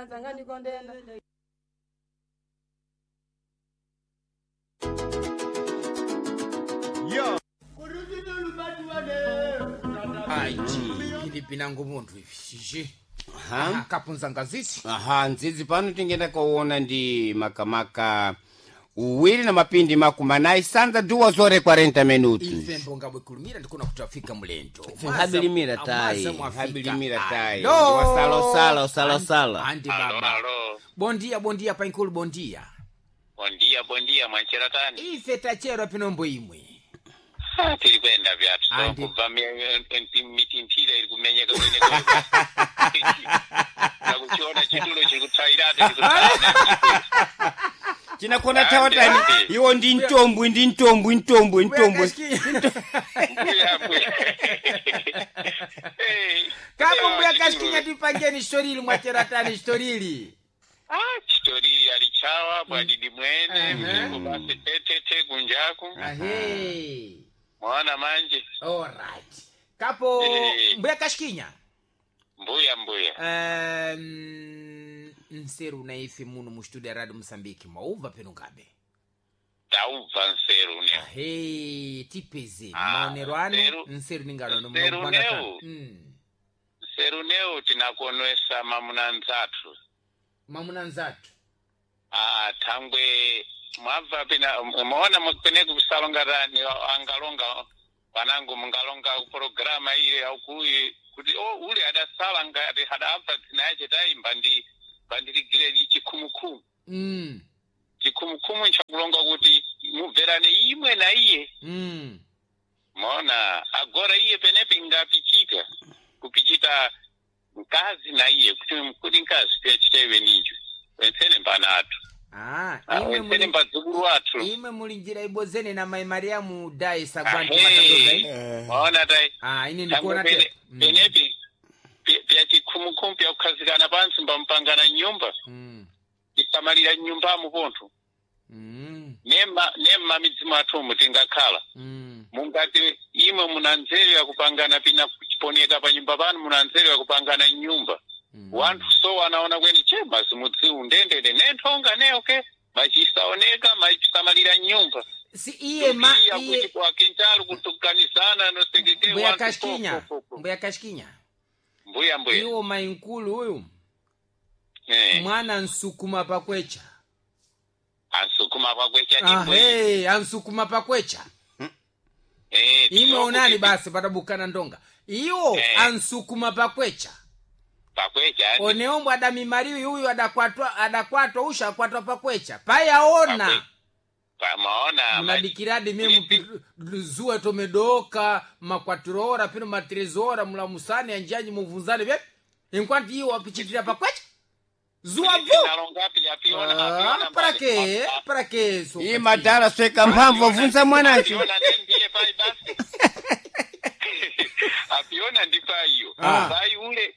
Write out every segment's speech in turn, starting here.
nzanga ndikondenda. Aiji pilipinango munthu ivi shishi. Aha. Kapunza ngazisi. Aha, ndzidzi pano tingenda kuona ndi makamaka uwiri na mapindi 40 sanza 2:40 minutos. Ife mbonga bwekulumira ndikuna kuti afika mulendo. Habilimira tai, Mwaza mwafika. habilimira tai. Alo. Wasalosala, usalosala. Andi Alo, baba. alo. Bondia bondia painkulu bondia. Bondia, bondia, mwanchera tani. Ife tachero pinombo imwe. Ah, tiri kuenda vyatu. So, Andi. kubva mitinthira iri kumenyeka kweneko. Nakuchiona chitulo chiri kutsvairatu chiri kutsvaira. Chinakona tawatani Andi. iwo ndi ntombwi ndi ntombwi ntombwi ntombwi. Mbuya, mbuya. Hey, Kapo mbuya chitulo. kashikinya tipangeni shitorili mwacheratani shitorili. Ah, chitoriri alichawa bwadidi mwene mzungu basi tetete kunjaku. Ahe. Mwaona manje. Alright. Kapo Eh. mbuya kashikinya. Mbuya, mbuya. Nseru na ife muno mu studio ya Radio Mozambique mwaubva peno ngabe. Taubva nseru ne. Ahe, tipeze Ah, maonero anu nseru- nseru ningalono nseru munogwana neu. Nseru neu tinakonwesa mamuna nzathu. Mamuna nzathu. Ah, thangwe mwabva pina maona pene kusalonga ni angalonga vanangu mungalonga programa ile aukuyi kuti o ule adasala ngati hadabva dzina yache taimba ndi bandiligire chikhumukhumu. Chikhumukhumu nchakulonga kuti mubverane imwe na iye. Maona agora iye penepe ingapichika kupichita mkazi na iye kuti kuti mkazi piyachita iwe nicho wensene mbana athu. Ah, Ah, imwe wensene muli mbadzukulu athu. imwe muli njira ibozene na mai Mariamu dai sagwanti Ahe. matatoza eh? Maona tai Ah, ine thangwe ndikuona pene te. penepi piyachikhumukhumu piyakukhazikana pansi mbampangana nyumba tisamalira nyumbamo pontho nemma midzimu athumu tingakhala mungati imwe muna nzeru yakupangana pina kuchiponeka pa nyumba panu muna nzeru yakupangana nyumba. Wanthu so anaona kweni che mazimudziwu ndendende nenthonga neoke machisaoneka machisamalira nyumba. Si iye ma Tukiya iye kuti kwa kintalu kutukanizana nosekeke mbuya wanthu kashikinya po, po, po. mbuya kashikinya Mbuya, mbuya. iwo mainkulu uyu Eh, mwana nsukuma pakwecha. Ansukuma kwakwecha ndibwe. Ahe, ansukuma pakwecha. Eh, Imwe onani tsokuti basi patabukana ndonga iwo Eh. ansukuma pakwecha. Pakwecha andi. Oneombo adamimariwi uyu adakwatwa adakwatwa usha akwatwa pakwecha payaona. Maona Munadikiradi mie zuwa tomedoka makwatiro pino matrezora mulamusani anjanyi muvunzane vyepi inkwanti iwo wapichitira pakwecha zuwa vu. nalongapi apiona apiona Para que para que so Iye madala sweka mphamvu wavunza mwanacho. apiona ndiye pai basi apiona ndi paiyo. Ah. Pai ule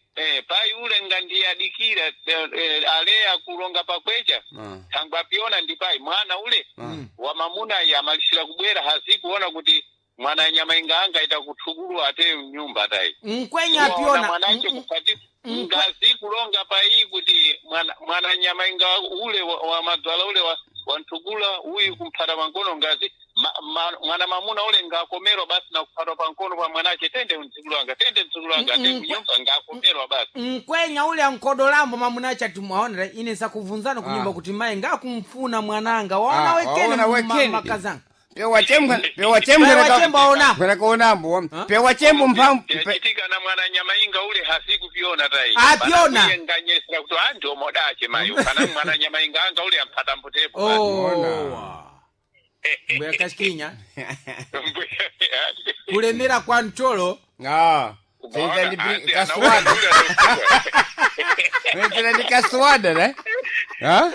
pai ule ngandiye adikira aleya kulonga pakwecha. Thangwe apiona ndi pai mwana ule wa mamuna iye amalisira kubwera hazikuona kuti mwana nyama inga ita kuthukulu ate mnyumba atayi nkwenya Waona apiona mwanache kupati ngazi kulonga pai kuti mwana nyama inga ule wa madzala ule wa nthukula uyu kumphata pankono ngazi mwana mamuna ule ngakomerwa basi na kuphatwa pankono pa mwanache tende mdzukulu wanga tende mdzukulu wanga tende kunyumba ngakomerwa basi. Nkwenya ule ankodolambo mamunache ati mwaonera ine sakuvunzana kunyumba kuti mai ngakumfuna mwananga waona Ah, wekene waona wekene. makazanga. Pewachembwa pewachembwa Pewachembo aona. kaonambo. Pewachembo mphamvu. Yachitika na mwana nyama inga ule hasikupiona tai. Apiona. Pana nganyesera kuti anti omodache mayo kana mwana nyama inga anga ule amphata mbutepo basi. Oh. Mbuya kashikinya kulemera kwa mcholo. Ah. Umaona, Sasa ndi anti kaswada. anaona ule anakuwa. Sasa ndi kaswada ne? Ha?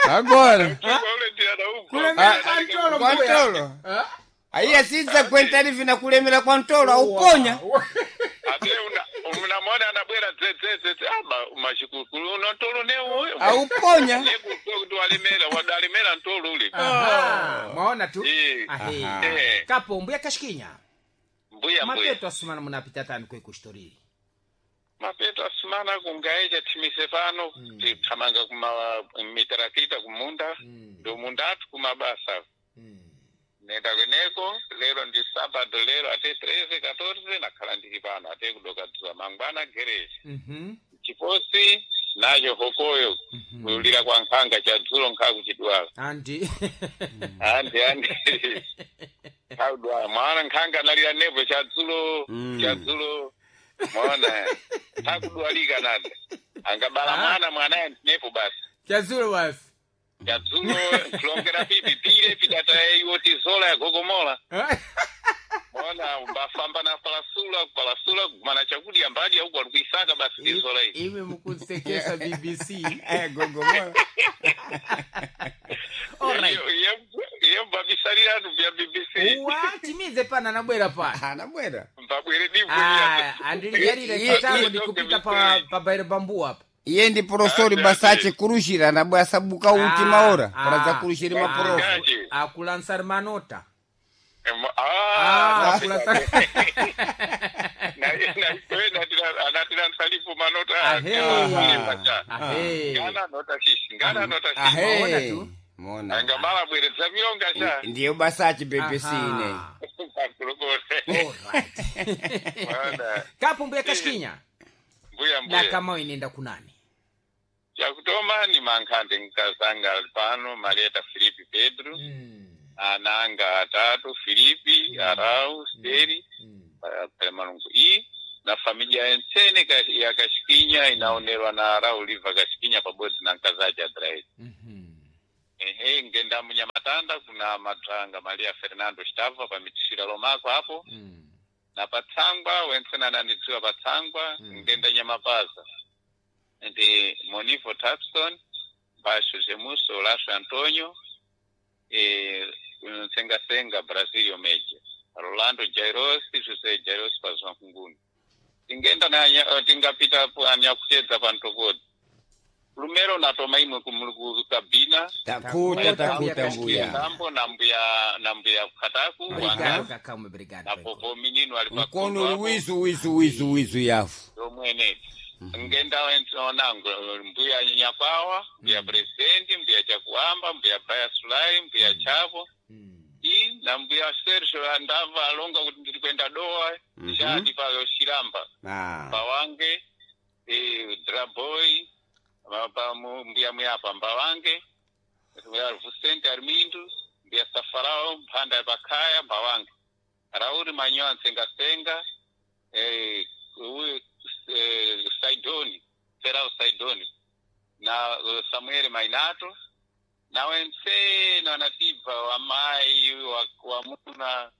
Agora. Ule ndiye anaugwa. Kulemera Ah, kwa mcholo Kwa mbuya. mtolo. Aiya sidza kwentani vina kulemera kwa mtolo auponya. Ate unamwona anabwera dzedzedzedze aba mashikukulu unotolo ne uyo Auponya. nekuto kuti walemera wadalemera mtolo ule. Aha, mwaona tu. Eh. Ahe. Aha. Eh. Kapo mbuya kashikinya Mbuya, mbuya. mapeto asumana munapita tani kwe kushtorili. Mapeto asimana kungaecha thimise pano tithamanga kuma mitarakita kumunda ndo munda athu kumabasa nenda kweneko lero ndi sabado lero ate 13 14 nakhala ndili pano ate kudoka dzuwa mangwana gereji chiposi nacho hokoyo kulira kwa nkhanga cha dzulo nkha kuchidwala Andi. andi andi khakudwala mwana nkhanga analira nepo cha dzulo cha dzulo mwaona khakudwalika nada angabala mwana mwanaye nepo basi Chadzulo basi. cha dzulo kulongera pipi pile pidata iwo tizola yagogomola mwaona mbafamba na palasula palasula kumana chakudya mbadya uku alikuisaka basi tizola iyi Ime mukunsekesa BBC. Gogomola. Alright. Iye mbabisaliratu vya BBC. Watimize pana anabwera pa. Anabwera. Mbabwere divu Ah, andilijarire chitango ndikupita pa bairo bambu apa. Iye ndi porosori basache kurushira anabwa sabuka uti maora paradza kurushira maporofu. Akulansar manota. Ah, Akulansar. anatilansalipo manota. Ahe. Ahe. Ngana nota shishi ngana nota shishi. Maona Ahe. tu. Mona. Angamala bweredza miyonga cha Ndiyo basache BBC ine. Aha. Pakulokole. Alright. Mwana. Kapo mbuya kashikinya. Mbuya mbuya. Dakama inenda kunani. Chakutoma ni mankhande nkazanga pano Marieta Filipi Pedro ananga atatu Filipi Arau Steri Pelemalungu i na familia ensene ya Kashikinya inaonerwa na Arau Liva Kashikinya pabodzi na nkazaji Adraeli. Ehe, ngenda munyamatanda kuna madrang Maria Fernando Stava pamitishira lomako hapo na patsangwa wensena ananidziwa patsangwa ngenda nyamapaza ndi Monivo Tapson Basho Jemuso Horacio Antonio Sengasenga Brasilio Meja Rolando Jairos José Jairos Pazwankunguni tingenda na tingapita anyakutedza pantopodi lumero natoma imwe kumuluku kabina Takuta takuta mbuya. Kambo na mbuya na mbuya Kataku Obrigado kakamwe brigado. na popo minino ali Mkono uli wizu wizu wizu wizu yafu. yomwene ngenda onango mbuya Nyakwawa mbuya presidenti mbuya Chakuamba mbuya Baya Sulai mbuya Chavo i na mbuya Sergio andava alonga kuti ndiri kuenda Dowa shadi pa Shiramba Pawange Draboy pa mbuya Muyapa Mbawange mbuya Vicente Armindo mbuya Safarao Mphanda Pakhaya Mbawange Rauri Manyoa Nsengasenga uyu Saidoni Serau Saidoni na Samuel Mainato na wensene wanatibva wamai wamuna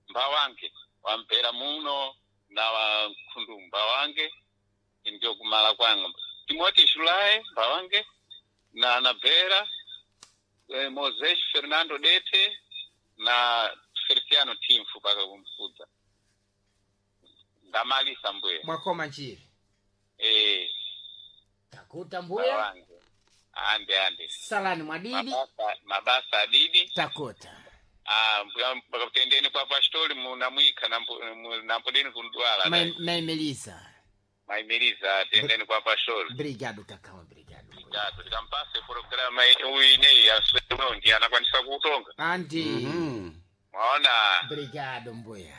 Mbawange wampera muno na wakhundu Mbawange ndio kumala kwanga Timothy Shulai Mbawange na Anabera Moses Fernando Dete na Feliciano Timfu paka kumfudza ndamalisa mbuya Mwakoma nchiri. Takuta mbuya. Mbawange ande ande Salani mwadidi. mabasa adidi Takuta. Mbuya tendeni kwa pastori munamwika nampodeni kundwala Maimelisa. Maimeliza tendeni kwa pastori. Brigado kakama brigado. Brigado tikampase programa uyu ineyi yaswendi anakwanisa kuutonga. Andi. Mwaona. Brigado mbuya.